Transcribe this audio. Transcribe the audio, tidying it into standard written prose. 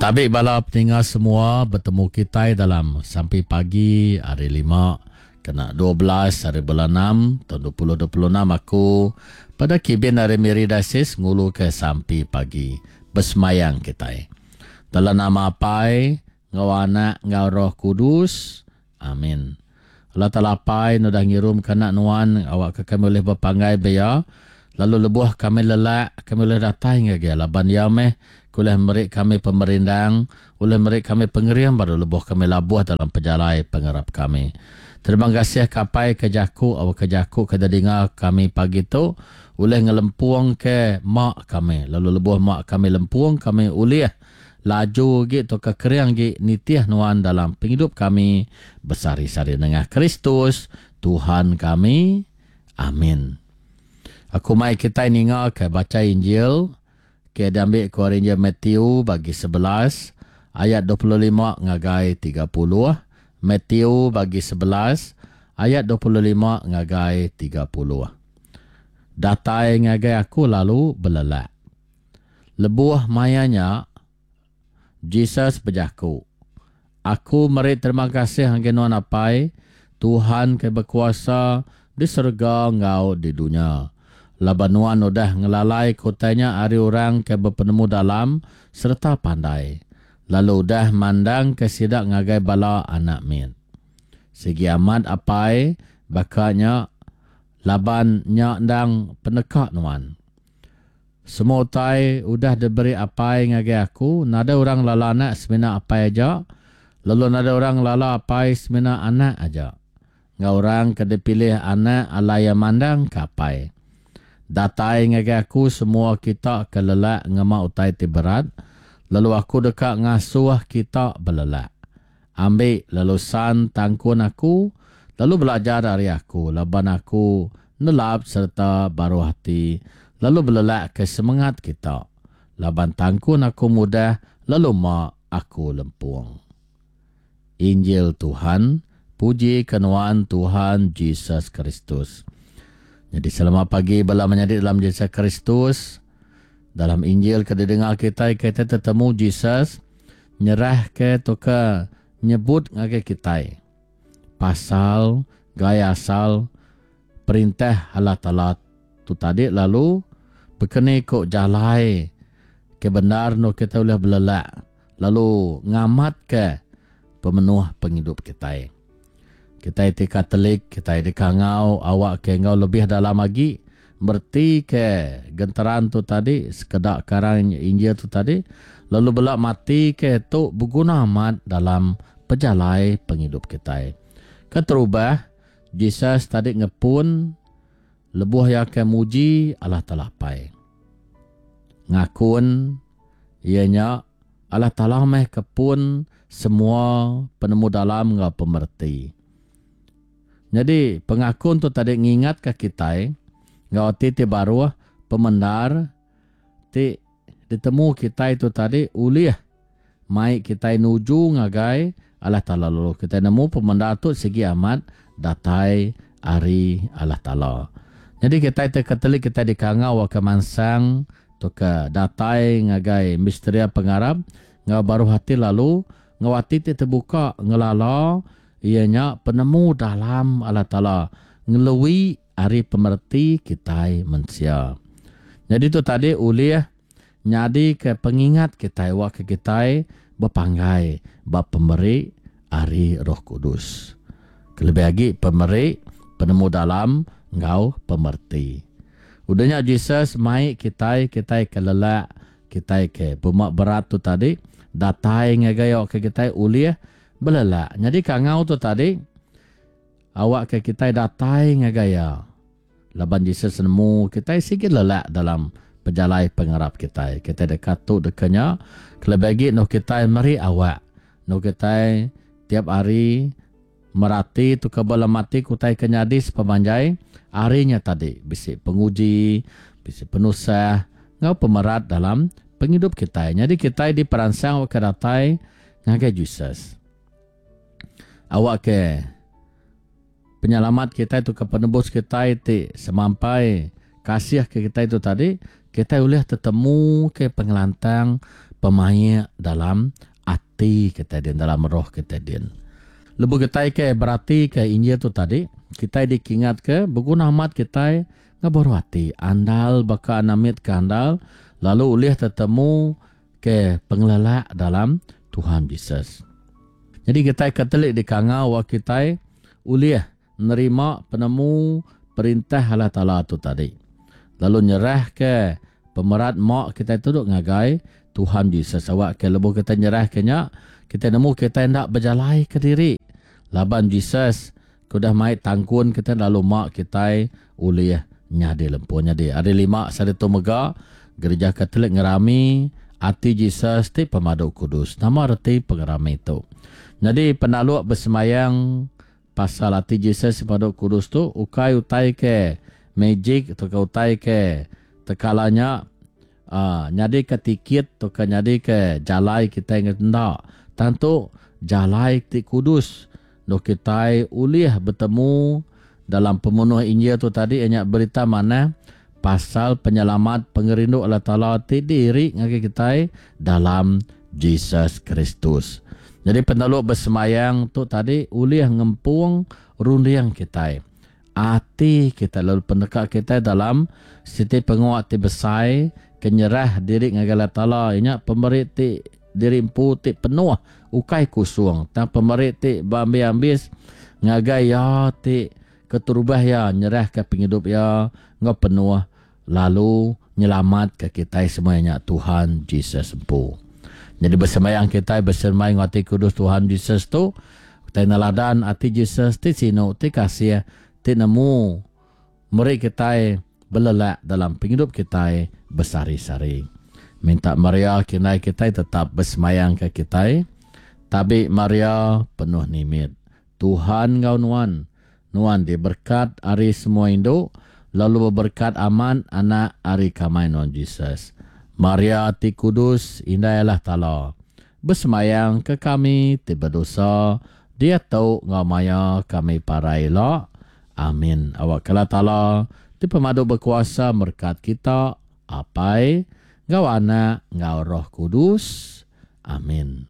Tabi bala peninga semua betemu kitai dalam sampi pagi hari lima kena 12 hari bulan enam taun 2026 aku pada kibin ari Miri Diocese ngulu ke sampi pagi besemayang kitai. Dalam nama Apai enggau Anak enggau Roh Kudus. Amin. Allah Taala Apai nudah ngirumka anak nuan awakka kami ulih bepanggai ba iya lalu lebuh kami lelak kami ulih datai ngagai iya laban iya meh ke ulih meri kami pemerindang ulih meri kami pengering baru lebuh kami labuh dalam pejalai pengarap kami. Terima kasih ke Apai ke jaku awakka jaku ke didinga kami pagi tu ulih ngelempungka ma kami lalu lebuh ma kami lempung kami ulih Laju agi tauka kering agi nitih nuan dalam pengidup kami besehari-sehari nengah Kristus, Tuhan kami. Amin. Aku mai kitai ninga ke bacha Injil ke diambi ku ari Injil Matthew bagi 11 ayat 25 ngagai 30. Matthew bagi 11 ayat 25 ngagai 30. Datai ngagai aku lalu belelak. Lebuh maya nya, Jesus bejaku, Aku meri terima kasih ngagai Nuan Apai, Tuhan ke bekuasa di serega enggau di dunya, laban Nuan udah ngelalaika utai nya ari orang ke bepenemu-dalam sereta pandai, lalu udah mandangka sida ngagai bala anak mit. Sigi amat Apai, baka nya, laban nya endang peneka Nuan. Semua utai udah diberi Apai ngagai aku, nadai orang ngelala Anak semina Apai aja, lalu nadai orang ngelala Apai semina Anak aja, enggau orang ke dipilih Anak alai iya mandangka Apai. Datai ngagai aku semua kita ke lelak ngema utai ti berat, lalu aku deka ngasuh kita belelak. Ambi lalu san tangkun aku, lalu belajar ari aku, laban aku nelap sereta baruh ati, lalu belelakka semengat kita, laban tangkun aku mudah lalu ma aku lempung. Injil Tuhan, Puji ke nuan Tuhan Jesus Kristus. Nyadi selamat pagi bala menyadi dalam Jesus Kristus. Dalam Injil ke didengar kitai, kitai tetemu Jesus nyerahka tauka nyebut ngagai kitai pasal gaya asal perintah Allah Taala tu tadi lalu bekeni ku jalai ke bendar endur kitai ulih belelak lalu ngamatka pemenuh pengidup kitai. Kitai ti Katolik, kitai dikangau awakka enggau lebih dalam agi meretika genteran tu tadi, sekeda karang Injil tu tadi, lalu bela matika tu beguna amat dalam pejalai pengidup kitai. Keterubah, Jesus tadi ngepun lebuh iya ke muji Allah Taala Apai. Ngakun iya nya Allah Taala meh ke pun semua penemu-dalam enggau pemereti. Nyadi, pengakun tu tadi ngingatka kitai enggau ati ti baruh pemendar ti ditemu kitai tu tadi ulih mai kitai nuju ngagai Allah Taala lalu kitai nemu pemendar tu sigi amat datai ari Allah Taala. Nyadi kitai ti Katolik kitai dikangau ke mansang Tauka datai ngagai misteria pengarap enggau baruh ati lalu enggau ati ti tebuka ngelala iya nya penemu dalam Allah Taala ngelui ari pemereti kitai mensia. Nyadi tu tadi ulih nyadika pengingat kitai awakka kitai bepanggai ba pemeri ari Roh Kudus. Kelebih agi pemeri penemu dalam enggau pemereti. Udah nya Jesus mai kitai, kitai ke lelak, kitai ke bema berat tu tadi, datai ngagai awakka kitai ulih belelak. Nyadi kangau tu tadi, awakka kitai datai ngagai iya. Laban Jesus nemu kitai sigi lelak dalam pejalai pengarap kitai. Kitai deka tu deka nya, kelebih agi endur kitai meri awak endur kitai tiap hari Merati tu ke bala mati ke utai ke nyadi sepemanjai hari nya tadi bisi penguji, bisi penusah enggau pemerat dalam pengidup kitai. Nyadi kitai diperansang awakka datai ngagai Jesus. Awakka penyelamat kitai tu ke penebus kitai ti semampai kasih ke kitai tu tadi, kitai ulih tetemu ke pengelantang, pemaik dalam ati kitai din, dalam roh kitai din. Lebuh kitai ke beratika Injil tu tadi, kitai dikingatka beguna amat kitai ngebaruh ati, andal baka anak mit ke andal lalu ulih tetemu ke pengelelak dalam Tuhan Jesus. Nyadi kitai Katolik dikangau wak kitai ulih nerima penemu perintah Allah Taala tu tadi lalu nyerahka pemerat mak kitai tu ngagai Tuhan Jesus awakka lebuh kitai nyerahka nya kitai nemu kitai enda bejalai kediri laban Jesus ke udah mai tangkun kitai lalu mak kitai ulih nyadi lempung. Nyadi hari lima sehari tu mega Gerija Katolik ngerami Ati Jesus ti Pemadu Kudus. Nama reti pengerami tu? Nyadi penaluk besembayang pasal Ati Jesus ti Pemadu Kudus tu ukai utai ke magic tauka utai ke tekala nya aaa nyadika tikit tauka nyadika jalai kitai enda. Tang tu jalai ti kudus Endur kitai ulih betemu dalam pemenuh Injil tu tadi iya nya Berita Manah pasal penyelamat pengerindu Allah Taala ti diiri ngagai kitai dalam Jesus Kristus. Nyadi peneluk besembayang tu tadi ulih ngempung runding kitai, ati kitai lalu peneka kitai dalam siti pengawa ti besai ke nyerah diri ngagai Allah Taala iya nya pemeri ti Diri empu ti penuh ukai kusung tang pemeri ti beambis-ambis ngagai iya ti keterubah iya nyerahka pengidup iya enggau penuh lalu nyelamatka kitai semua iya nya Tuhan Jesus empu. Nyadi besembayang kitai beserembai enggau ati kudus Tuhan Jesus tu kitai neladan ati Jesus ti sinu ti kasih ti nemu Meri kitai belelak dalam pengidup kitai besehari-sehari. Minta Maria kindai kitai tetap besemayangka kitai. Tabi Maria, penuh nimit. Tuhan enggau nuan. Nuan diberkat ari semua indu, lalu beberkat amat Anak ari kamai nuan Jesus. Maria ti kudus, Indai Allah Taala, besemayangka kami ti bedosa, diatu enggau maya kami parai ila. Amin. Awakka Allah Taala ti pemadu bekuasa merekat kita, Apai, enggau Anak, enggau Roh Kudus. Amin.